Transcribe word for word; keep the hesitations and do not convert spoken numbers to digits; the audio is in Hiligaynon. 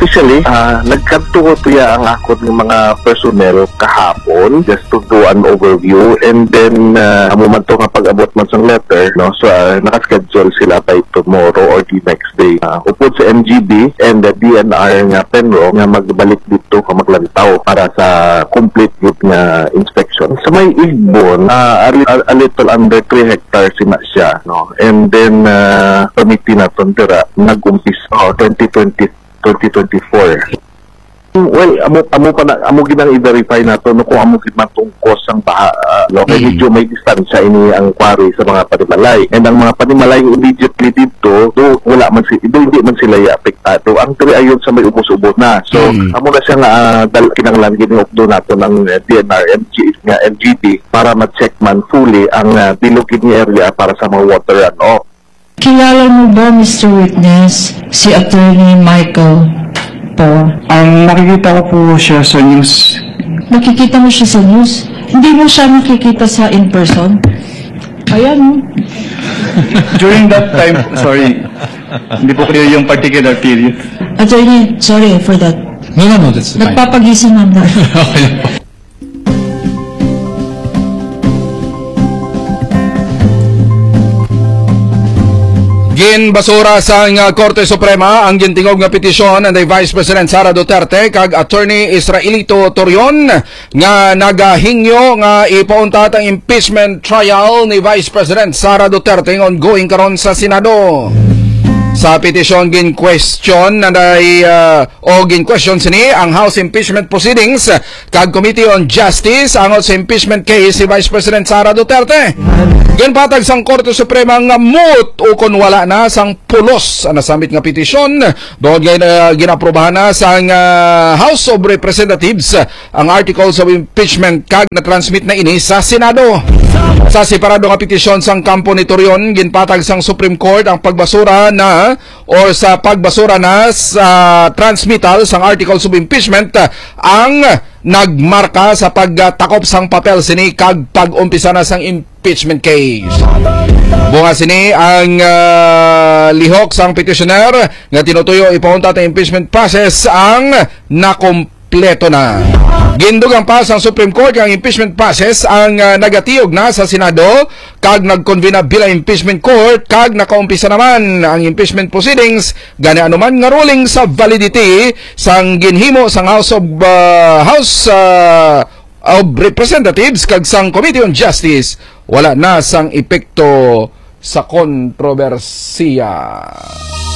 Actually, ah, nagkadto ko tuya ang akon nga mga personnel kahapon just to do an overview, and then, ah, amo man to nga pag-abot man sang letter, no? So, ah, naka-schedule sila by tomorrow or the next day. Ah, upod sa M G B and the D N R nga PENRO nga magbalik dito ka maglantaw para sa complete gid nga inspection. Sa may Igbon, ah, a, a, a little under three hectares na siya, no? And then, ah, committee naton dira nag-umpisa, oh, twenty twenty, twenty twenty-four. Well, amo, amo pa na, amo ginang i-verify nato, no, kung amo gid man tong cause sang baha, ah, no? Kay Mm. medyo may distansya ini ang quarry sa mga panimalay. And ang mga panimalay immediately dito, do wala man si, do hindi man sila apektado. Ang diri ayon sa may ubos-ubos na. So, Mm. amo na siya nga, ah, dal-, kinahanglan gid ni updo nato ng, eh, D N R M G, nga M G B para ma-check man fully ang, ah, bilog gid nga area para sa mga water runoff. Kilala mo ba, Mister Witness, si Attorney Michael Poe? Ang nakikita ko po siya sa news. Nakikita mo siya sa news? Hindi mo siya nakikita sa in person? Ayan, oh. During that time, sorry, hindi po clear yung particular period. Attorney, sorry for that. No, no, no, that's fine. Nagpapagising lang na. Okay lang po. Ginbasura sang, ah, Korte Suprema ang gintingog nga petisyon ni Vice President Sara Duterte kag Attorney Israelito Torion nga nagahingyo nga ipauntat ang impeachment trial ni Vice President Sara Duterte nga ongoing karon sa Senado. Sa petisyon, gin-question na day, ah, o gin-question sini ang House Impeachment Proceedings kag Committee on Justice angot sa impeachment case si Vice President Sara Duterte. Ginpatag sang Korte Suprema nga moot ukon wala na sang pulos ang nasambit nga petisyon, tungod nga, ah, ginaprobahan na sang, ah, House of Representatives ang articles of impeachment kag na-transmit na ini sa Senado. Sa separado nga petisyon sang kampo ni Torion, ginpatag sang Supreme Court ang pagbasura na or sa pagbasura na sa transmittal sang articles of impeachment, ah, ang nagmarka sa pagtakop sang papel sini kag pag-umpisa na sang impeachment case. Bunga sini ang, ah, lihok sang petitioner nga tinutuyo ipauntat ang impeachment process ang nakumpleto na. Gindugang pa sang Supreme Court nga ang impeachment process ang, ah, nagatiyog na sa Senado kag nagkonvena bilang impeachment court kag nakaumpisa naman ang impeachment proceedings. Gani, anuman nga ruling sa validity sang ginhimo sang House of, ah, House, ah, of Representatives kag sang Committee on Justice wala na sang epekto sa kontrobersiya.